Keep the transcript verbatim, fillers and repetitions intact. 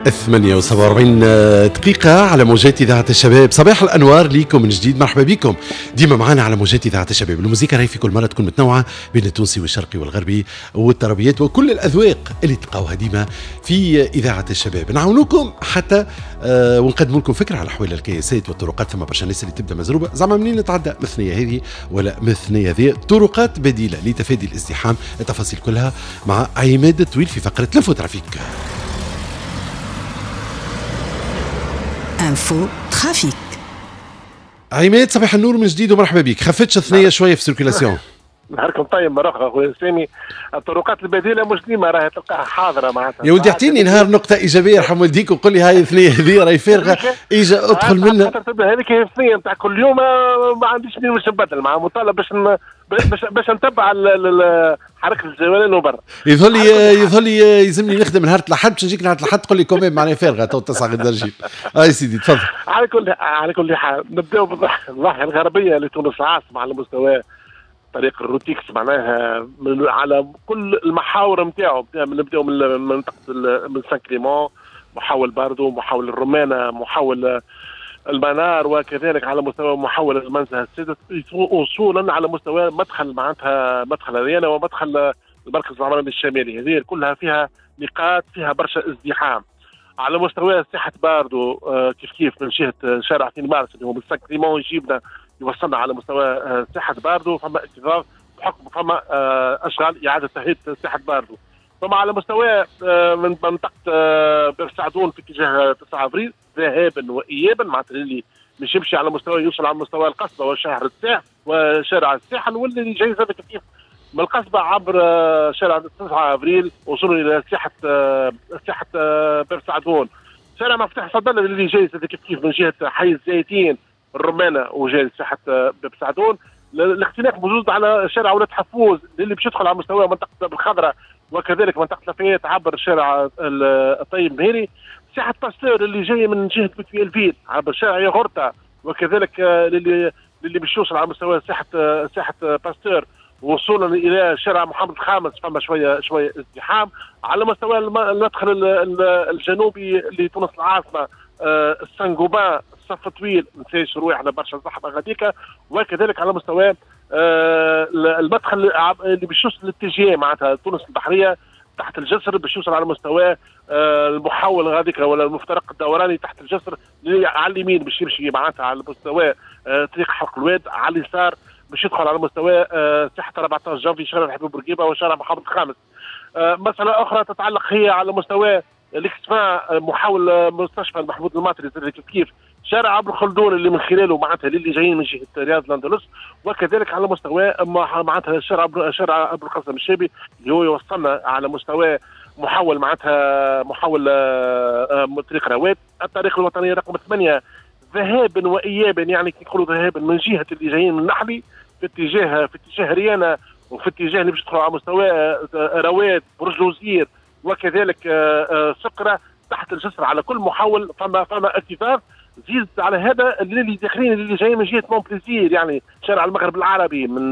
ثمانية وسبعة وأربعين دقيقة على موجات إذاعة الشباب. صباح الأنوار ليكم من جديد، مرحبا بكم ديما معنا على موجات إذاعة الشباب. الموسيقى راهي في كل مرة تكون متنوعة بين التونسي والشرقي والغربي والتربيات وكل الأذواق اللي تلقاوها ديما في إذاعة الشباب. نعاونوكم حتى آه ونقدم لكم فكرة على أحوال الكياسات والطرقات. ثم برشا ناس اللي تبدا مزروبة، زعما منين نتعدى من الثنية هذه ولا من الثنية هذه، طرقات بديلة لتفادي الازدحام. التفاصيل كلها مع عماد الطويل في فقرة l'info trafic. info trafic. عماد صباح النور من جديد ومرحبا بك. خفتش الثنية شوية في circulation؟ نهاركم طيب مرة اخرى خويا سامي. الطرقات البديلة مش ديما راهي تلقاها حاضره معناتها. يا ودي اعطيني نهار نقطة ايجابية يرحم والديك وقول لي هاي الثنية هذه راهي فارغة، اجا ادخل منها. هذيك هي الثنية نتاع كل يوم، ما عنديش منين باش نبدل، مع مطالب باش باش باش نتبع حركة الجولان وبرا. يظهر لي يظهر لي يلزمني نخدم نهار الاحد باش نجيك نهار الاحد تقول لي quand même معناها فارغة تو تسعة غدا نجيب. اي سيدي تفضل. على كل على كل حال نبداو بالضاحيه الغربية لتونس العاصمة على مستوى طريق الروتيكس، معناها من على كل المحاور نتاعو. نبداو من منطقة من سان كليمون، محاول باردو، محاول الرمانه، محاول المنار، وكذلك على مستوى محاول المنزه السادس، وصولا على مستوى مدخل معناتها مدخل اريانا ومدخل المركز العمراني الشمالي. هذه كلها فيها نقاط فيها برشا ازدحام. على مستوى ساحة باردو كيف كيف من جهة شارع اثنين مارس اللي هو من سان كليمون يجيبنا يوصلنا على مستوى ساحة باردو، فما اكتظاظ بحكم فما اشغال اعاده تهيئة ساحة باردو. ثم على مستوى من منطقة باب سعدون في اتجاه تسعة افريل ذهابا وايابا، معناتها اللي مش يمشي على مستوى يوصل على مستوى القصبة وشهر الساحل وشارع الساحل، واللي جاي زاد كيف من القصبة عبر شارع تسعة افريل وصولا الى ساحة ساحة باب سعدون. شارع مفتاح صدالة اللي جاي زاد كيف كيف من جهة حي الزيتين الرمانه وجاي ساحة باب سعدون. الاختلاف موجود على شارع ولاد حفوز اللي باش يدخل على مستوى منطقة بالخضراء وكذلك منطقة لافيات عبر شارع الطيب مهيري. ساحة باستور اللي جاية من جهة بوتفيل عبر شارع ياغورتا، وكذلك اللي اللي باش يوصل على مستوى ساحة ساحة باستور وصولا الى شارع محمد الخامس، فما شوية شوية ازدحام. على مستوى المدخل الجنوبي لتونس العاصمة السانغوبان الصف طويل، نساش رواحنا برشا زحمة غاديكا. وكذلك على مستوى المدخل اللي باش يوصل للاتجاه معناتها تونس البحرية تحت الجسر، باش يوصل على مستوى المحول غاديكا ولا المفترق الدوراني تحت الجسر اللي على اليمين باش يمشي معناتها على مستوى طريق حلق الواد، على اليسار باش يدخل على مستوى ساحة أربعة عشر جانفي شارع الحبيب بورقيبة وشارع محمد الخامس. مسالة اخرى تتعلق هي على مستوى الاكتفاء محاول مستشفى محمود الماطري كيف كيف شارع عبر خلدون اللي من خلاله معناتها اللي جايين من جهة رياض الاندلس، وكذلك على مستوى معناتها شارع شارع ابو القاسم الشابي اللي هو يوصلنا على مستوى محاول معناتها محاول طريق رواد. الطريق الوطنية رقم ثمانية ذهابا وايابا، يعني كي نقولوا ذهابا من جهة اللي جايين من نحلي في اتجاه في اتجاه ريانا وفي اتجاه اللي باش يدخلوا على مستوى رواد برج الوزير وكذلك سكره تحت الجسر على كل محاول فما فما اكتظاظ. زيد على هذا اللي داخلين اللي جايين من جهة مونبليزير، يعني شارع المغرب العربي من